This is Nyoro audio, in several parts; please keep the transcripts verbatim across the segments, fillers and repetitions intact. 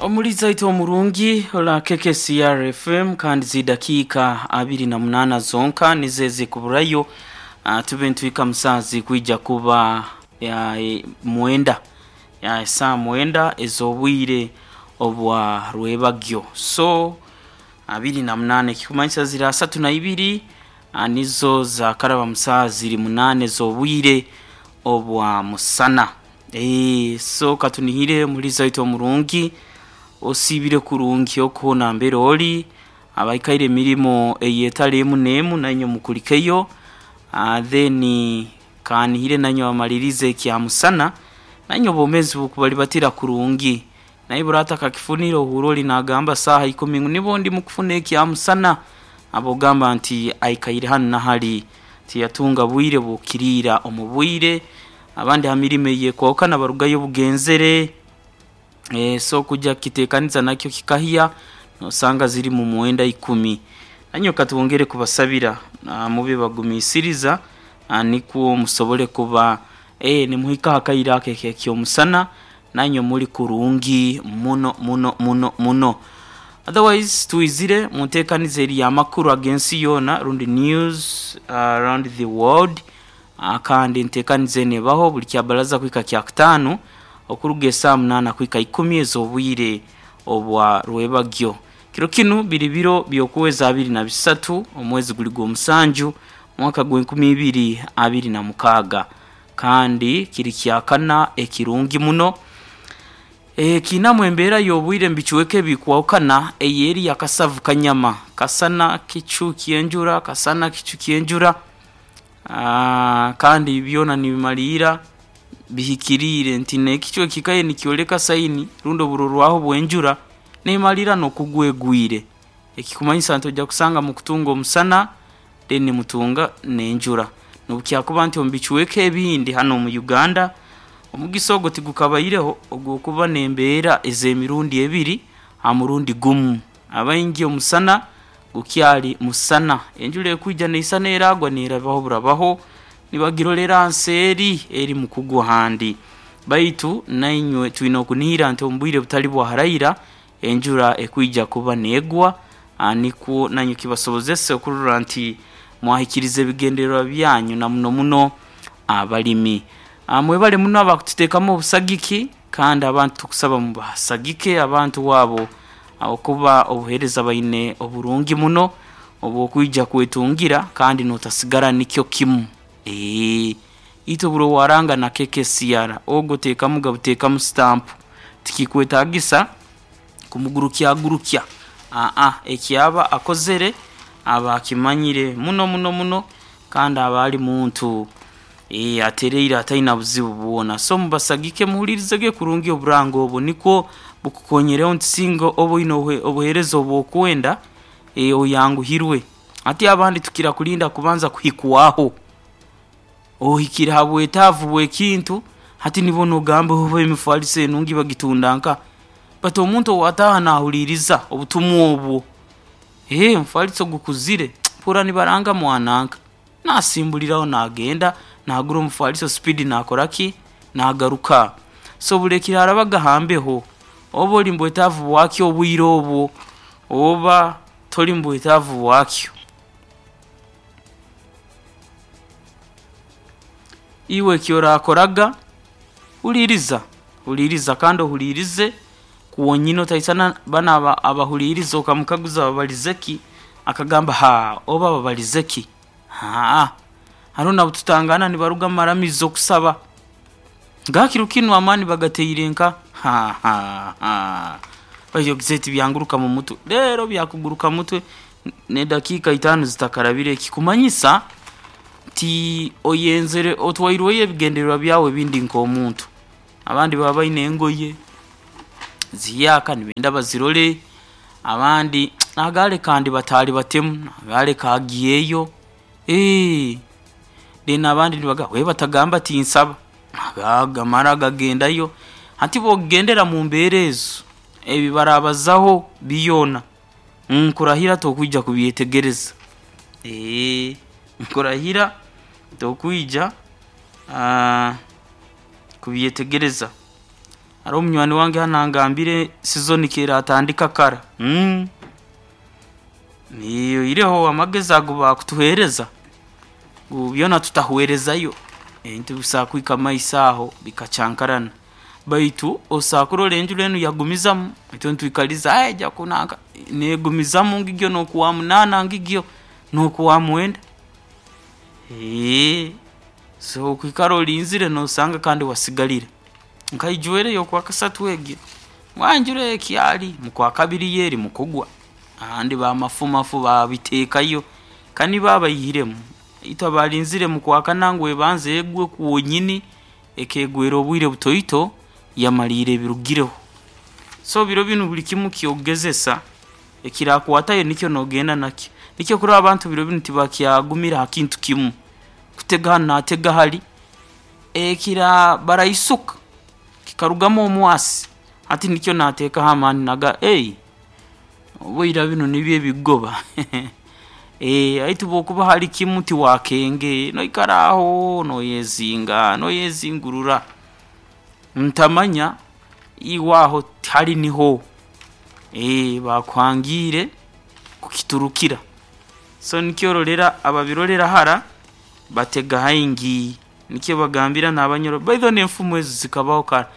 Omuliza waitu omurungi ola K K C R F M, kandi zidakiika abiri na munana zonka nizo ezikuburayo uh, tube ntwika musazi kwija kuba ya, e, mwenda ya saa mwenda ez'obwire obwa rwebagyo. So abiri na munane kikumanyisa ziri asatu na ibiri uh, nizo zakaraba musaha ziri munane ez'obwire obwa musana. e, so katunihire muliza waitu omurungi osiibire kurungi okuhona mbere ori abaikaire emirimo eyetali emu n'emu, nainywe mukulikeyo. uh, then kanihire nainywe abamalirize ekyamusana, nainywe obwomezi bukubalibatira kurungi. Naye burata kakifunire ohura ori nagamba saaha ikumi ngu nibo ndi mukufuna ekyamusana, abogamba nti aikaire hanu nahali tiyatunga bwire bukiriira omu bwire. Abandi ha mirimo eyekwahukana barugayo bugenzere, e, so kujya kitekaniza nakyo kikahya nosanga ziri mu mwenda ikumi. Nanyo katwongere kubasabira uh, mube bagumisiriza uh, nikwo musobole kuba e, nimuhika akaire ako ekyomusana nanywe muri kurungi muno muno muno muno. Otherwise twizire muntekaniza eri amakuru ag'ensi yoona rundi news uh, around the world. uh, kandi ntekaniza eno ebaho buli kyabaraza kuhika kyakutaano okuruga esaa munaana kuhika ikumi ez'obwire obwa rwebagyo. Kiro kinu biri biro by'okwezi abiri na bisatu, omwezi guli gw'omusanju, mwaka gw'enkumi ibiri abiri na mukaaga, kandi kiri kyakana ekirungi muno. e, kiinamu embeera y'obwire mubicweka ebikwahukana eyeri yakasavu kanyama kasana kicu ky'enjura, kasana kicu ky'enjura. Aa, kandi byona nibimaliira bihikiriire nti n'ekicu ekikaire nikyoleka saini rundi oburorwaho bw'enjura nemalira n'okugwa egwire, ekikumanyisa nti ojja kusanga mukutunga omusana then mutunga n'enjura. Nobukyakuba nti omu bicweka ebindi hanu omu Uganda omugisa ogwo tigukabaireho ogw'okuba n'embeera ez'emirundi ebiri ha murundi gumu. Abaingi omusana gukyali musana, enjura ekwija neisana eragwa nerabaho burabaho, nibagirolera nseeri eri mukugwa handi. Baitu nainywe twine okunihira nti omu bwire butali bwa haraira enjura ekwija kuba negwa, nikwo nanywe kibasobozese okurora nti mwahikiriza ebigendererwa byanyu, na muno muno abalimi. Mwebale muno abakututeekamu obusagiki, kandi abantu tukusaba mubasagike abantu abo okuba obuheereza baine oburungi muno obwokwija kwetungira kandi notasigara nikyo kimu. Eee itwe buri owaranga na K K C R ogwo teekamu gabuteekamu stamp, tikikwetagisa kumugurukyagurukya. Aa ekyaba akozere aba akimanyire muno muno muno, kandi aba ali muntu e, atereire ataina buzibu bwona. So mubasagike, muhulirizege kurungi oburango obwo nikwo bukukonyereho nti singa oba oine obuheereza obwokwenda e, oyanguhirwe. Hati abandi tukira kulinda kubanza kuhikwaho, ohikire ha bwetaavu bw'ekintu hati nibwo nogamba oba emifaliso enungi bagitunda nka. But omuntu owataha nahuliriza obutumwa obwo, ee omufaliso gukuzire mpura nibaranga mwananka nasimbuliraho nagenda nagura omufaliso speed, nakoraki nagaruka. So bulekire arabaga hambeho oba ori mubwetaavu bwakyo obwire obwo oba tori mubwetaavu bwakyo, iwe ekyorakoraga huliriza, huliriza kandi ohulirize kwonyini. Otaisana banu abahuliriza okamukaguza babalize ki, akagamba ha oba babalize ki. Aa haroho nabututangana nibaruga mumaramizo kusaba nga kiro kinu amaani bagateire nka ha ha ha baitu tibyanguruka mumutwe rero byakuguruka mutwe n'edakiika itaano zitakarabire, ekikumanyisa nti oyenzere otwairweyo ebigendererwa byawe ebindi nk'omuntu. Abandi baba baine engoye ziyaka nibenda bazirole, abandi nagale kandi batali batemu nagale kagiyeyo, ee then abandi nibagamba we batagamba tinsaba gamara gagendayo. Hati bwokugendera mumbeera ezo ebi barabazaho byona nkurahira tokwija kubyetegereza, ee nkurahira tokwija uh, kubyetegereza. Hariho munywani wange hanu angambire sizoni keratandika kara. Mm. Oihireho amagezi ago bakutuheereza ngu byona tutahwerezayo, ebintu bisobora kuhika mumaiso aho bikacyankarana. Baitu osobola kurora enjura enu yagumizamu, itwe nitwikaliza eja kunanka, negumizamu ngigyo nokwamunaana ngigyo nokwamwenda, so kwikara olinzire nosanga kandi wasigalira. Nkaijwera eyokwakasatu egi, enjura ekyali, mukwakabiri yo eri mukugwa, abandi bamafumafu babiteekayo, kanibo abaihiremu, itwe abalinzire mukwakana ngu ebanze egwe kwonyini, ekegwera obwire butoito yamaliira ebirugireho. So biro binu buli kimu kyokugezesa, ekirakwatayo nikyo nogenda nakyo. Nikyo okurora abantu biro binu tibakyagumira hakintu kimu, kutega hanu natega hali, ekira baraisuka kikarugamu omwasi, hati nikyo nateekaho amaani nagamba oboira binu nibyo ebikugoba baitu obu okuba hali kimu tiwakenge, noikara aho noyezinga noyezingurura, ntamanya iwe aho tihali niho, bakuhangiire kukiturukira. So nikyo orolera ababirolera hara batega haingi, nikyo bagambira nabanyoro, by the way nenfumu ezi zikabaho kara.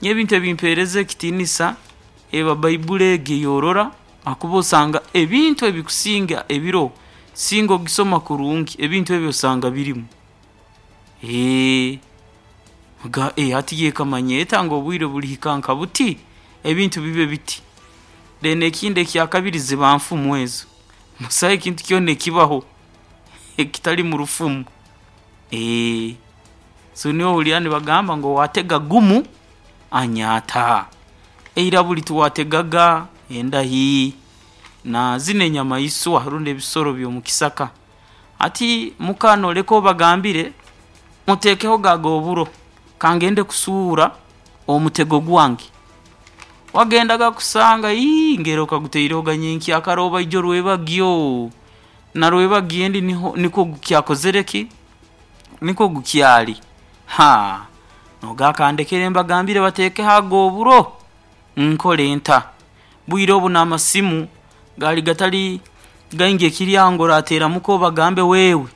Nyowe ebintu ebimpereza ekitiinisa, eba baiburi egi eyorora habwokuba osanga ebintu ebikusinga ebiroho, singa ogisoma kurungi, ebintu ebi osanga birimu. Ogamba hati yo ekamanya eta ngu obwire bulihika nka buti, ebintu bibe biti? Then ekindi ekyakabiri ziba nfumu ezo, busaho ekintu kyoona ekibaho ekitali murufumu, so niho ohurra nibagamba ngu owatega gumu, anyaata. Ira buli twategaga endahi, na zinu enyamaiswa rundi ebisoro ebyomukisaka, hati muka noleka obagambire, mutekehoga ago oburo, kangende kusuura omutego gwange. Wagendaga kusanga ngeri okagutairehoga nyenkyakara oba ijo rwebagyo, na rwebagyo endi nikwo gukyakozireki, nikwo gukyali, nogamba kandekere mbagambire batekeho ago oburo, nkole nta? Bwiire obu namasimu gaali gatari gaingi ekiri aho ngu orateera muka obagambe wewe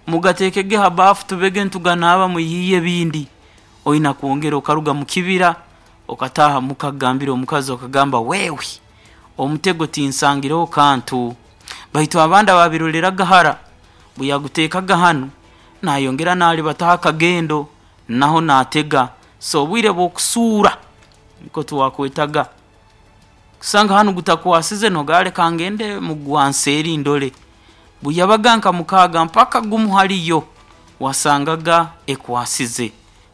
mugateekege ha baafu tubege nituganaaba mwiiyeyo ebindi, oyina kwongera okaruga mukibira okataaha muka kugambira omukazi okagamba wewe omutego tinsangireho kantu, baitu abandi ababiroreraga hara, obu yaguteekaga hanu, nayongera narubataho akagendo, naho natega, so obwiire bwokusuura nikwo twakwetaga, kusanga hanu gutakwasize nogamba leka ngende mugwanseeri ndole, bweyabaga nka mukaaga mpaka gumu haliyo wasangaga ekwasize,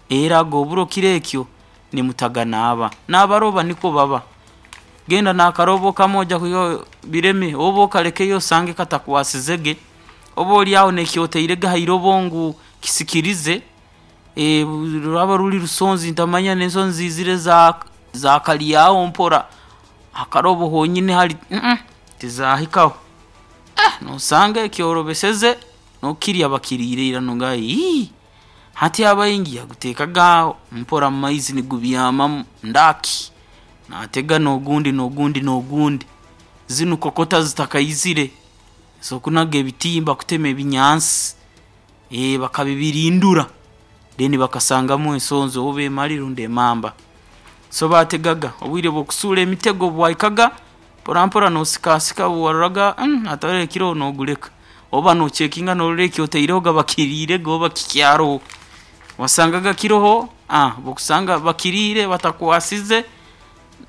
era ago oburo kiro ekyo nimutaganaaba, nabaroba nikwo baba, genda nakarobo kamu ojya kwihayo bireme, oba okalekeyo osange katakwasizege, oba oryaho nekyotairege hairobo ngu kisikirize, ruraba ruri rusonzi ntamanya nensonzi ziizire zakaryaho mpora, hakarobo honyini hari tizahikaho, nosanga ekyorobeseze nokukirya bakiriire ira nogamba hati abaingi yaguteekaga aho mpora mumaizi nigubyamamu ndaki, natega nogundi nogundi nogundi, zinu kokota zitakaizire ezokunaga ebitimba kutema ebinyansi, bakabibirindura then bakasangamu ensonzi oba emari rundi emamba. So bategaga, obwiire bwokusuura emitego obu bwahikaga, mpora mpora nosikasika obu waroraga hataroho ekiroho nogureka, oba nocekinga norora ekyotairehoga bakiriirege oba kikyaroho, wasangaga kiroho, obu okusanga bakiriire batakwasize,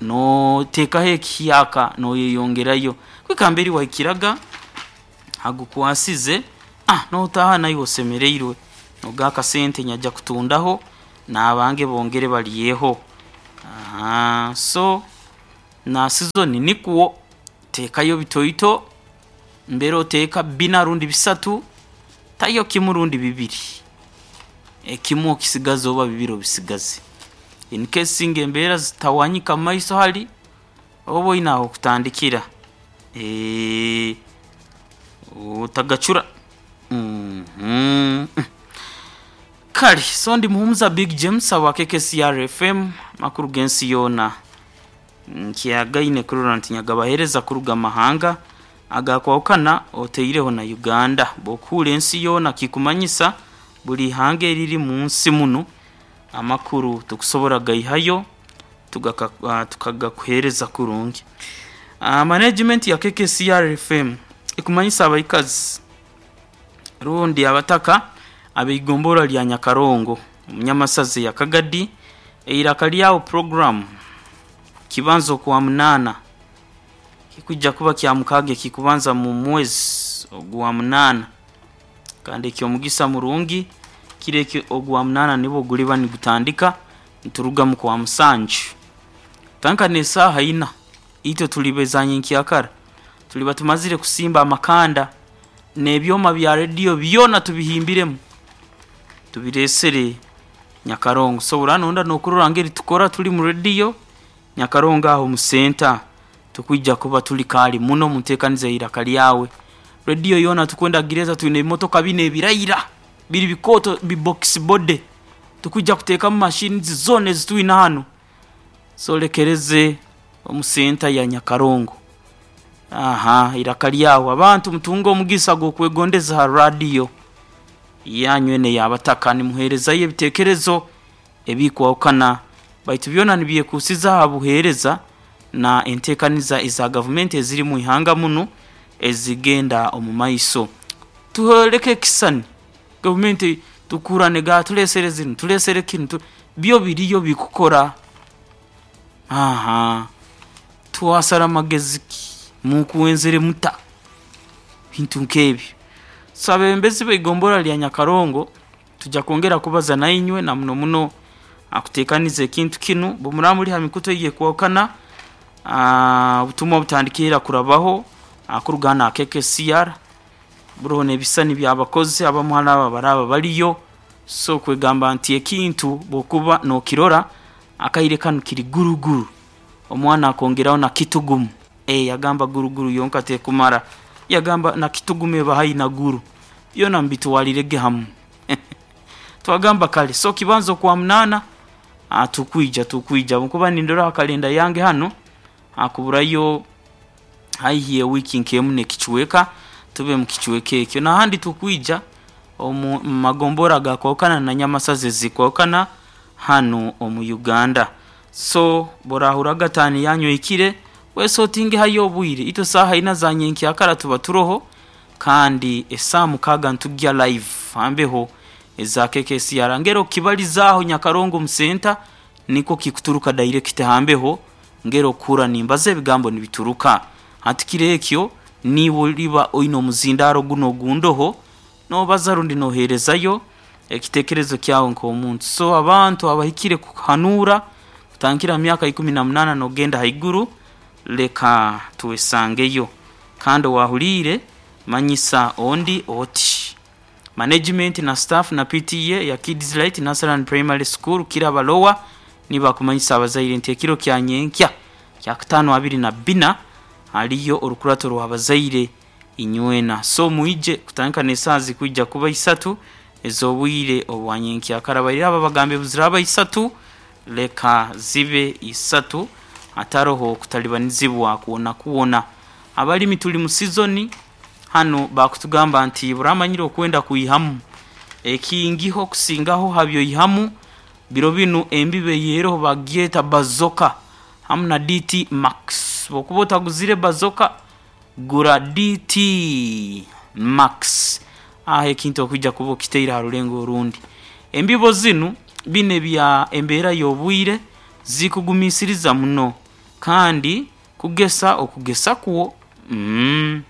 noteekaho ekihyaka noyeyongerayo kuhika nambere wahikiraga hagukwasize, notaaha naiwe osemereirwe nogamba akasente nyajja kutundaho nabange bongere baryeho. So na season nikwo, teekayo bitoito, mbere oteeka bina rundi bisatu, tayo kimu rundi bibiri, ekimu okisigaze oba bibiri obisigaze, in case singa embeera zitawanyika mumaiso hari, oba oyine ahokutandikira, otagacura. Kale so ndi Muhumuza Big James awa K K C R F M, makuru g'ensi yoona nkyagaine kurora nti nyagabahereza kuruga mahanga agakwawukana oteireho na Uganda. Bw'okuhura ensi yoona kikumanyisa buli ihanga eriri mu nsi muno, amakuru tukusobora gaihayo tukagakuhereza kurungi. Uh, management ya K K C R F M ikumanyisa abaikazi rundi abataka abeigombora lya Nyakarongo Munyamasazi ya Kagadi eiraka lyawo program kibanzo kwa munana kikujja kuba kya mukage kikubanza mu mwezi ogwa munana, kandi ekyomugisa murungi kireke ogwa munana nibo guliba nigutandika nturuga mu kwa musanju tanka nesaha ina itwe tulibezanye nkyakara tuliba tumazire kusimba amakanda n'ebyoma bya radio byona tubihimbiremu tubiresere Nyakarongo. So uranonda nokurora ngeri tukora tuli mu radio Nyakarongo aho mu center tukwijja kuba tuli kali muno mutekanize iraka lyawe. Radio yona tukwenda gereza tuine motoka bine ebirayira biri bikoto bi box body tukujja kuteka mu machines zone zituina hano. So lekereze omu center ya Nyakarongo. Aha, iraka lyawe abantu mutungo omugisa gwo kwegondeza ha radio yanywene yabataka nimuhereza ebitekerezo ebikwawukana baitu byona nibyekusiza ha buhereza na entekaniza eza government eziri mu ihanga muno ezigenda omu maiso. Tuholeke kisani government tukurane ga tulesere zinu tulesere kintu byo biriyo bikukora. Aha, tuwasara magezi mukuwenzere muta bintu nkebi. So abembezi beigombora lya Nyakarongo tujja kwongera kubaza na inywe na muno muno akutekanize ekintu kinu bumuramuli ha mikuto iye kwokana obutumwa butandikira kurabaho akurugana K K C R buroho n'ebisani by'abakozi abamuhala aba baraba baliyo. So kwegamba nti ekintu bokuba nokirora akaire kanu kiri guruguru omwana akongeraho na kitugumu. E yagamba guruguru yonka tekumara, yagamba na kitugume bahayi na guru yona mbituwalirege hamu. Twagamba kale so kibanzo kwa munana atukwija tukwija nkuba nindora kalenda yange hano akuburayo haihiye wiki nkemu nekichweka tube mukichweke ekyo na handi tukwija omu magombora gakwokana na Nyamasazi zikwokana hano omu Uganda. So borahura gatani yanyu ikire wese otinge hayo obwire ito saha ina za nyenki akara tuba turoho kandi esamu kaga ntujya live ambeho eza K K C R ngero kibalizaho Nyakarongo musenta niko kikuturuka direct hambeho ngero kura nimbaze ebigambo nibituruka hatikire ekyo niwo liba oino muzindaro guno gundoho no bazarundi noherezayo ekitekerezo kyawo nko omuntu. So abantu abahikire kuhanura kutankira myaka ikumi na munana nogenda haiguru leka tuwesangeyo kandi wahulire manyisa ondi oti management na staff na P T A ya Kids Light Nasaran Primary School Kirabalowa nibakumanyisa abazaire nti ekiro kya nyenkya kya katano abiri na bina haliyo orukurato rw'abazaire inywena. So muije kutanka nesazi kujja kuba isatu ezobwire obwanyenkya karabaira aba bagambe buziraba isatu leka zibe isatu ataroho kutalibanizibwa kuona kuona. Abalimi tuli mu season hano bakutugamba nti buramanyire okwenda kuyihamu ekingiho kusingaho habyo yihamu biro binu embibe yeroho bagyeta bazoka hamu na D T Max. Bokuba otaguzire bazoka gura D T Max aho ekintu okujja kuba okiteire ha rulengo orundi. Embibo zinu bine bya embeera y'obwire zikugumisiriza muno kandi kugesa okugesa kuwo mm.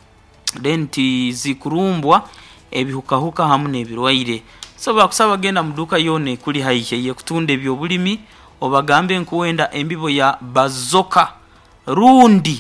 Then zikurumbwa ebihukahuka hamu n'ebirwaire. So bakusaba genda muduka yone kuli haihe ye kutunda ebyobulimi obagambe nkuwenda embibo ya bazoka rundi